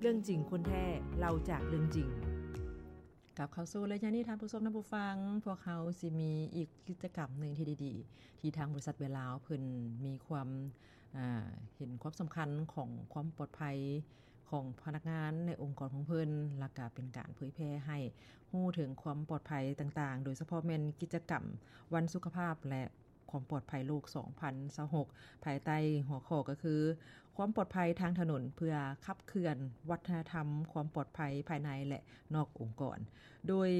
ເລື່ອງຈິງຄົນແທ້ ເລົ່າຈາກເລື່ອງຈິງ. ກັບເຂົ້າສູ່ໄລຍະນີ້ ທ່ານຜູ້ຊົມ ທ່ານຜູ້ຟັງ, ພວກເຮົາຊິມີອີກກິດຈະກຳໜຶ່ງທີ່ດີໆ ທີ່ທາງບໍລິສັດເບລາວເພິ່ນມີຄວາມ ເຫັນຄວາມສຳຄັນຂອງຄວາມປອດໄພຂອງພະນັກງານໃນອົງກອນຂອງເພິ່ນ, ແລ້ວກະເປັນການເຜີຍແຜ່ໃຫ້ຮູ້ເຖິງຄວາມປອດໄພຕ່າງໆ, ໂດຍສະເພາະແມ່ນກິດຈະກຳວັນສຸຂະພາບ ແລະ ຄວາມປອດໄພໂລກສອງພັນຊາວຫົກ ພາຍໃຕ້ຫົວຂໍ້ກໍຄື ຄວາມປອດໄພທາງຖະໜົນເພື່ອຂັບເຄື່ອນວັດທະນະທຳຄວາມປອດໄພພາຍໃນ ແລະ ນອກອົງກອນ ໂດຍ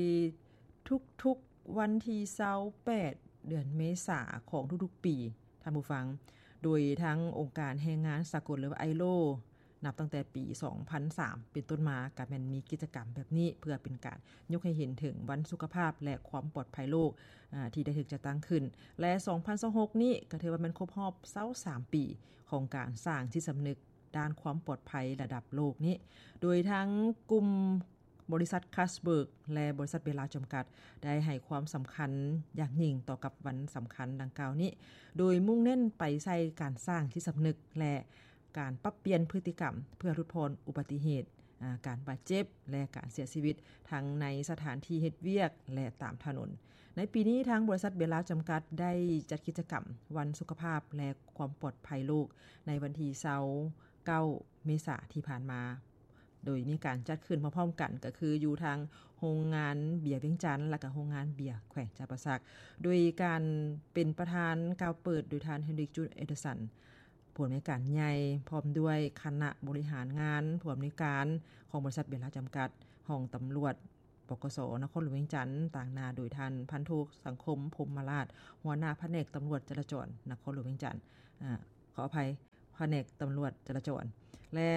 ທຸກໆວັນທີຊາວແປດ ເດືອນເມສາຂອງທຸກໆປີ ທ່ານຜູ້ຟັງ, ໂດຍທາງອົງການແຮງງານສາກົນ ຫຼືວ່າ ໄອໂລ ນັບຕັ້ງແຕ່ປີສອງພັນສາມເປັນຕົ້ນມາ ກະແມ່ນມີກິດຈະກຳແບບນີ້ ເພື່ອເປັນການຍົກໃຫ້ເຫັນເຖິງວັນສຸຂະພາບ ແລະ ຄວາມປອດໄພໂລກ ອາ ທີ່ໄດ້ຖືກຈັດຕັ້ງຂຶ້ນ ແລະ ສອງພັນຊາວຫົກນີ້ກະຖືວ່າແມ່ນຄົບຮອບຊາວສາມປີຂອງການສ້າງຈິດສຳນຶກດ້ານຄວາມປອດໄພລະດັບໂລກນີ້ ໂດຍທາງກຸ່ມບໍລິສັດຄາສເບີກ ແລະ ບໍລິສັດເບລາວຈຳກັດ ໄດ້ໃຫ້ຄວາມສຳຄັນຢ່າງຍິ່ງຕໍ່ກັບວັນສຳຄັນດັ່ງກ່າວນີ້ ໂດຍມຸ່ງເນັ້ນໄປໃສ່ການສ້າງຈິດສຳນຶກ ແລະ ການປັບປ່ຽນພຶດຕິກຳເພື່ອຫຼຸດຜ່ອນອຸບັດຕິເຫດ, ອາ, ການບາດເຈັບ ແລະ ການເສຍຊີວິດ ທັງໃນສະຖານທີ່ເຮັດວຽກ ແລະ ຕາມຖະໜົນ. ໃນປີນີ້ ທາງບໍລິສັດເບລາວຈຳກັດໄດ້ຈັດກິດຈະກຳວັນສຸຂະພາບ ແລະ ຄວາມປອດໄພໂລກ ໃນວັນທີຊາວເກົ້າ ເມສາທີ່ຜ່ານມາ, ໂດຍມີການຈັດຂຶ້ນພ້ອມໆກັນ ກໍຄືຢູ່ທາງໂຮງງານເບຍວຽງຈັນ ແລະ ກະໂຮງງານເບຍແຂວງຈຳປາສັກ ໂດຍການເປັນປະທານກ່າວເປີດໂດຍທ່ານ ເຮນຣິກ ຈູດ ເອເດີສັນ ຜູ້ອຳນວຍການໃຫຍ່ ພ້ອມດ້ວຍຄະນະບໍລິຫານງານ, ຜູ້ອຳນວຍການຂອງບໍລິສັດເບລາວຈຳກັດ, ຫ້ອງຕຳຫຼວດ ປກສ ນະຄອນຫຼວງວຽງຈັນ ຕາງໜ້າໂດຍທ່ານ ພັນໂທ ສັງຄົມ ພົມມະລາດ ຫົວໜ້າພະແນກຕຳຫຼວດຈະລາຈອນນະຄອນຫຼວງວຽງຈັນ, ອາ, ຂໍອະໄພ, ພະແນກຕຳຫຼວດຈະລາຈອນ ແລະ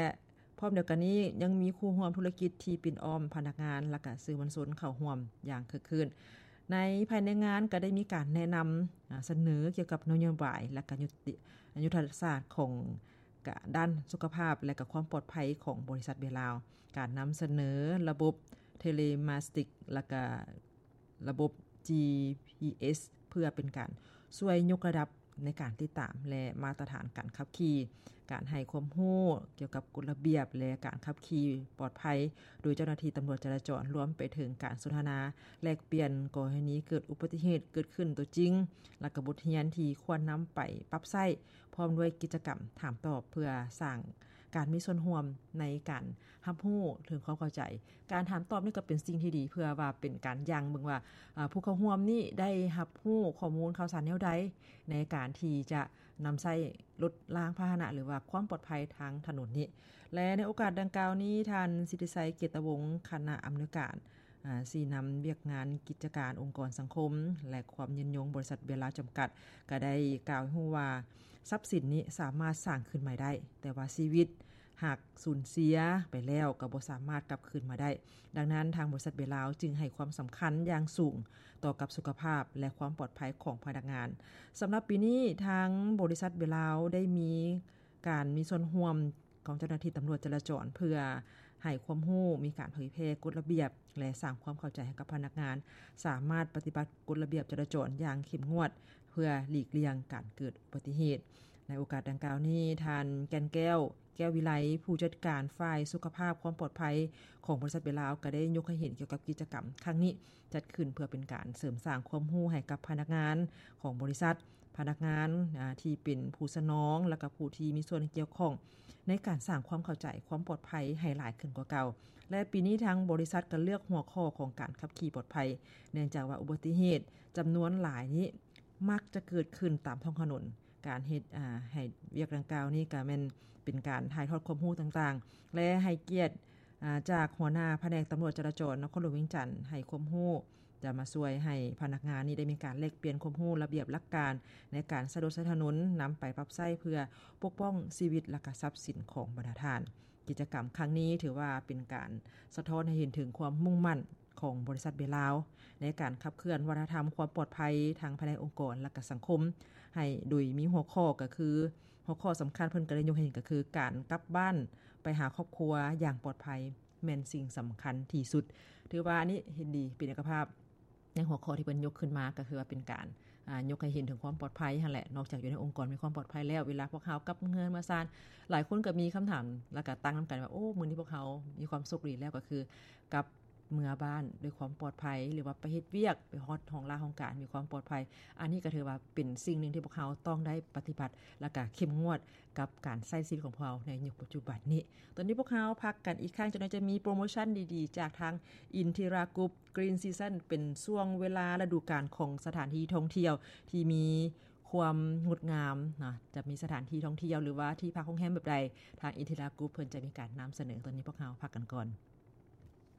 ພ້ອມດຽວກັນນີ້ ຍັງມີຄູ່ຮ່ວມທຸລະກິດທີ່ປິ່ນອ້ອມພະນັກງານ ແລະ ກະສື່ມວນຊົນເຂົ້າຮ່ວມຢ່າງຄຶກຄື້ນ. ໃນ ພາຍໃນງານກໍໄດ້ມີການແນະນຳ, ອາ, ສະເໜີກ່ຽວກັບນະໂຍບາຍ ແລະ ກະຍຸດ, ຍຸດທະສາດຂອງ ກະດ້ານສຸຂະພາບ ແລະ ກະຄວາມປອດໄພຂອງບໍລິສັດເບລາວ, ການນຳສະເໜີລະບົບເທເລມາສຕິກ ແລະ ກະລະບົບ ຈີ ພີ ເອສ ເພື່ອເປັນການຊ່ວຍຍົກລະດັບໃນການຕິດຕາມ ແລະ ມາດຕະຖານການຂັບຂີ່, ການໃຫ້ຄວາມຮູ້ກ່ຽວກັບກົດລະບຽບ ແລະ ການຂັບຂີ່ປອດໄພ ໂດຍເຈົ້າໜ້າທີ່ຕຳຫຼວດຈະລາຈອນ, ລວມໄປເຖິງການສົນທະນາແລກປ່ຽນກໍລະນີເກີດອຸບັດຕິເຫດເກີດຂຶ້ນຕົວຈິງ ແລະ ກະບົດຮຽນທີ່ຄວນນຳໄປປັບໃຊ້ ພ້ອມດ້ວຍກິດຈະກຳຖາມຕອບ ເພື່ອສ້າງການມີສ່ວນຮ່ວມໃນການຮັບຮູ້ເຖິງຄວາມເຂົ້າໃຈ. ການຖາມຕອບນີ້ກໍເປັນສິ່ງທີ່ດີ ເພື່ອວ່າເປັນການຢັ້ງເບິ່ງວ່າ, ອາ, ຜູ້ເຂົ້າຮ່ວມນີ້ໄດ້ຮັບຮູ້ຂໍ້ມູນຂ່າວສານແນວໃດ ໃນການທີ່ຈະນຳໃຊ້ລົດລາງພາຫະນະ ຫຼືວ່າຄວາມປອດໄພທາງຖະໜົນນີ້. ແລະ ໃນໂອກາດດັ່ງກ່າວນີ້ ທ່ານ ສິດທິໄຊ ເກດຕະວົງ ຄະນະອຳນວຍການ, ອາ, ຊີ້ນຳວຽກງານກິດຈະການອົງກອນສັງຄົມ ແລະ ຄວາມຍືນຍົງບໍລິສັດເບລາວຈຳກັດ ກໍໄດ້ກ່າວໃຫ້ຮູ້ວ່າ ຊັບສິນນີ້ສາມາດສ້າງຄືນໃໝ່ໄດ້, ແຕ່ວ່າຊີວິດຫາກສູນເສຍໄປແລ້ວກໍບໍ່ສາມາດກັບຄືນມາໄດ້. ດັ່ງນັ້ນ ທາງບໍລິສັດເບລາວຈຶ່ງໃຫ້ຄວາມສຳຄັນຢ່າງສູງຕໍ່ກັບສຸຂະພາບ ແລະ ຄວາມປອດໄພຂອງພະນັກງານ. ສຳລັບປີນີ້ ທາງບໍລິສັດເບລາວໄດ້ມີການມີສ່ວນຮ່ວມ ຂອງເຈົ້າໜ້າທີ່ຕຳຫຼວດຈະລາຈອນ ເພື່ອໃຫ້ຄວາມຮູ້, ມີການເຜີຍແຜ່ກົດລະບຽບ ແລະ ສ້າງຄວາມເຂົ້າໃຈໃຫ້ກັບພະນັກງານ ສາມາດປະຕິບັດກົດລະບຽບຈະລາຈອນຢ່າງເຂັ້ມງວດ ເພື່ອຫຼີກລ່ຽງການເກີດອຸບັດຕິເຫດ. ໃນໂອກາດດັ່ງກ່າວນີ້ ທ່ານ ແກ່ນແກ້ວ ແກ້ວວິໄລ ຜູ້ຈັດການຝ່າຍສຸຂະພາບຄວາມປອດໄພຂອງບໍລິສັດເບລາວ ກໍໄດ້ຍົກໃຫ້ເຫັນກ່ຽວກັບກິດຈະກຳຄັ້ງນີ້ ຈັດຂຶ້ນເພື່ອເປັນການເສີມສ້າງຄວາມຮູ້ໃຫ້ກັບພະນັກງານຂອງບໍລິສັດ, ພະນັກງານ, ອາ, ທີ່ເປັນຜູ້ສະໜອງ ແລະ ກະຜູ້ທີ່ມີສ່ວນກ່ຽວຂ້ອງ ໃນການສ້າງຄວາມເຂົ້າໃຈຄວາມປອດໄພໃຫ້ຫຼາຍຂຶ້ນກວ່າເກົ່າ. ແລະ ປີນີ້ທາງບໍລິສັດກໍເລືອກຫົວຂໍ້ຂອງການຂັບຂີ່ປອດໄພ ເນື່ອງຈາກວ່າອຸບັດຕິເຫດຈຳນວນຫຼາຍນີ້ມັກຈະເກີດຂຶ້ນຕາມທ້ອງຖະໜົນ, ການເຮັດ, ອາ, ໃຫ້ວຽກດັ່ງກ່າວນີ້ກໍແມ່ນເປັນການຖ່າຍທອດຄວາມຮູ້ຕ່າງໆ ແລະ ໃຫ້ກຽດ, ອາ, ຈາກຫົວໜ້າພະແນກຕຳຫຼວດຈະລາຈອນນະຄອນຫຼວງວຽງຈັນ ໃຫ້ຄວາມຮູ້ ຈະມາຊ່ວຍໃຫ້ພະນັກງານນີ້ໄດ້ມີການແລກປ່ຽນຄວາມຮູ້ລະບຽບຫຼັກການໃນການໃຊ້ລົດໃຊ້ຖະໜົນ ນຳໄປປັບໃຊ້ເພື່ອປົກປ້ອງຊີວິດ ແລະ ກະຊັບສິນຂອງບັນດາທ່ານ. ກິດຈະກຳຄັ້ງນີ້ຖືວ່າເປັນການສະທ້ອນໃຫ້ເຫັນເຖິງຄວາມມຸ່ງໝັ້ນຂອງບໍລິສັດເບລາວ ໃນການຂັບເຄື່ອນວັດທະນະທຳຄວາມປອດໄພທາງພາຍໃນອົງກອນ ແລະ ກະສັງຄົມ ໃຫ້ ໂດຍມີຫົວຂໍ້ກໍຄື ຫົວຂໍ້ສຳຄັນເພິ່ນກໍໄດ້ຍົກໃຫ້ເຫັນກໍຄື ການກັບບ້ານໄປຫາຄອບຄົວຢ່າງປອດໄພ ແມ່ນສິ່ງສຳຄັນທີ່ສຸດ. ຖືວ່າອັນນີ້ເຫັນດີ ເປັນເອກະພາບໃນຫົວຂໍ້ທີ່ເພິ່ນຍົກຂຶ້ນມາ ກໍຄືວ່າເປັນການ ອ່າ ຍົກໃຫ້ເຫັນເຖິງຄວາມປອດໄພຫັ້ນແຫຼະ. ນອກຈາກຢູ່ໃນອົງກອນມີຄວາມປອດໄພແລ້ວ ເວລາພວກເຮົາກັບເຮືອນມາຊານ ຫຼາຍຄົນກໍມີຄຳຖາມ ແລ້ວກໍຕັ້ງນຳກັນວ່າ ໂອ້ ມື້ນີ້ພວກເຮົາມີຄວາມໂຊກດີແລ້ວ ກໍຄືກັບເມືອບ້ານດ້ວຍຄວາມປອດໄພ ຫຼືວ່າໄປເຮັດວຽກ ໄປຮອດຫ້ອງລາຫ້ອງການມີຄວາມປອດໄພ. ອັນນີ້ກໍຖືວ່າເປັນສິ່ງໜຶ່ງທີ່ພວກເຮົາຕ້ອງໄດ້ປະຕິບັດ ແລ້ວກໍເຂັ້ມງວດກັບການໃຊ້ຊີວິດຂອງພວກເຮົາໃນຍຸກປັດຈຸບັນນີ້. ຕອນນີ້ພວກເຮົາພັກກັນອີກຄັ້ງ ຈັກໜ້ອຍຈະມີໂປຣໂມຊັນດີໆ ຈາກທາງ Intiragroup Green Season ເປັນຊ່ວງເວລາລະດູການຂອງສະຖານທີ່ທ່ອງທ່ຽວທີ່ມີຄວາມງົດງາມນະ, ຈະມີສະຖານທີ່ທ່ອງທ່ຽວ ຫຼືວ່າທີ່ພັກໂຮງແຮມແບບໃດ ທາງ Intiragroup ເພິ່ນຈະມີການນຳສະເໜີ. ຕອນນີ້ພວກເຮົາພັກກັນກ່ອນ.